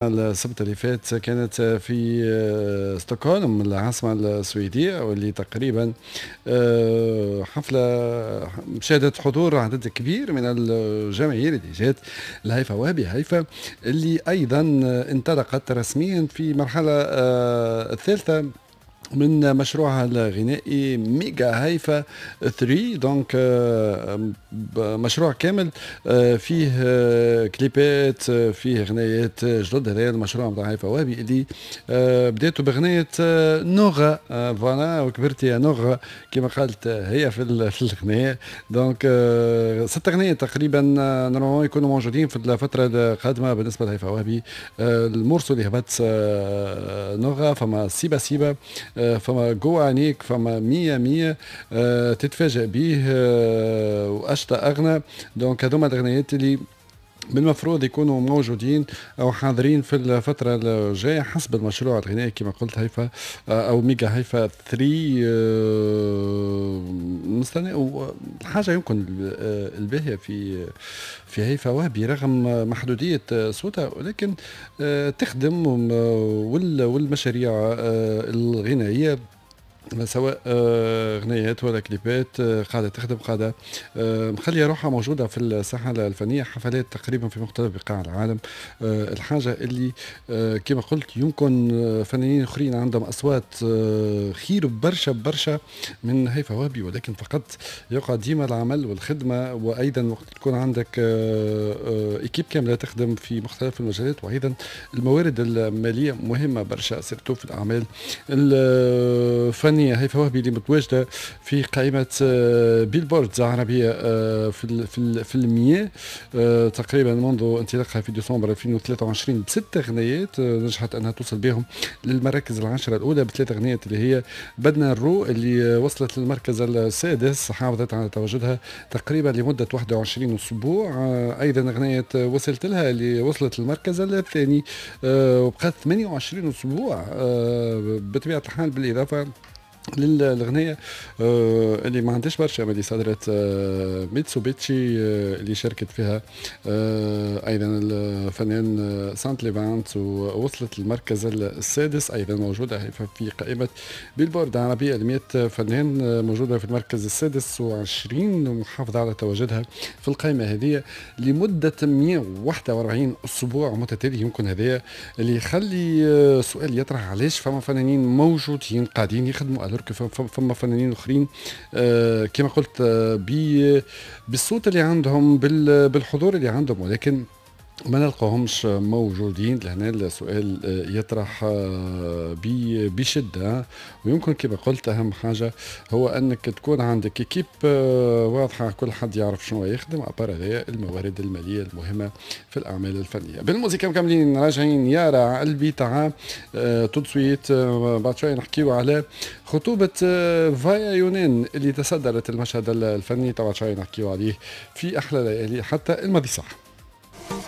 السبت اللي فات كانت في ستوكهولم العاصمة السويدية، واللي تقريبا حفلة شهدت حضور عدد كبير من الجماهير اللي جات لهيفا وهبي. هيفا اللي أيضا انطلقت رسميا في مرحلة الثالثة من مشروعها الغنائي ميجا هيفا 3، donc مشروع كامل فيه كليبات، فيه غنايات جدد. هذا المشروع نتاع هيفا وهبي اللي بداته بغناية نوغا، voilà وكبرتي يا نوغا كما قالت هي في الغناية. donc 6 غنايات تقريبا normalement يكونوا موجودين في الفترة القادمة بالنسبة لهيفا وهبي. ال morceau اللي هبط نوغا، فما سيبا سيبا، فما جو عينيك، فما مية مية، تتفاجأ به، وأشطى أغنى. donc هذوما الأغنيات اللي بالمفروض يكونوا موجودين او حاضرين في الفترة الجاية حسب المشروع الغنائي كما قلت هيفا او ميجا هيفا 3. نستنى الحاجة يمكن الباهيه في هيفا وهبي رغم محدودية صوتها، ولكن تخدم والمشاريع الغنائية سواء غنيات ولا كليبات قاعدة تخدم، قاعدة مخليه روحها موجودة في الساحة الفنيه، حفلات تقريبا في مختلف بقاع العالم. الحاجة اللي كما قلت يمكن فنانين اخرين عندهم اصوات خير برشا برشا من هيفا وهبي، ولكن فقط يقع ديما العمل والخدمه، وايضا وقت تكون عندك équipe كاملة تخدم في مختلف المجالات، وايضا الموارد المالية مهمة برشا surtout في الاعمال الفنية. هيفا وهبي اللي متواجدة في قائمة بيلبورد عربية في المية تقريبا منذ انطلاقها في ديسمبر 2023 بست اغنيات نجحت انها توصل بهم للمراكز العشرة الاولى بثلاث اغنيات اللي هي بدنا الرو اللي وصلت للمركز السادس، حافظت على تواجدها تقريبا لمدة 21 اسبوع. ايضا اغنية وصلت لها اللي وصلت للمركز الثاني وبقت 28 اسبوع بطبيعة الحال، بالاضافة للغنية اللي ما عندهاش برشا اللي صدرت ميتسوبيتشي اللي شاركت فيها ايضا الفنان سانت ليفانت ووصلت للمركز السادس. ايضا موجودة في قائمة بيلبورد العربية ل 100 فنان، موجودة في المركز السادس وعشرين ومحافظة على تواجدها في القائمة هذه لمدة 141 اسبوع متتالي. يمكن هذا اللي يخلي سؤال يطرح، علاش فما فنانين موجودين قاعدين يخدموا alors que فما فنانين اخرين كما قلت بالصوت اللي عندهم، بالحضور اللي عندهم، ولكن ما نلقاهمش موجودين؟ لهنا السؤال يطرح بشدة. ويمكن كما قلت أهم حاجة هو أنك تكون عندك équipe واضحة، كل حد يعرف شنو يخدم، à part هذا الموارد المالية المهمة في الأعمال الفنية. بالموسيقى مكملين راجعين يارا قلبي تعا tout de suite. بعد شوي نحكيو على خطوبة فايا يونان اللي تصدرت المشهد الفني، طبعا شوي نحكيو عليه في أحلى ليالي حتى الماضي صح.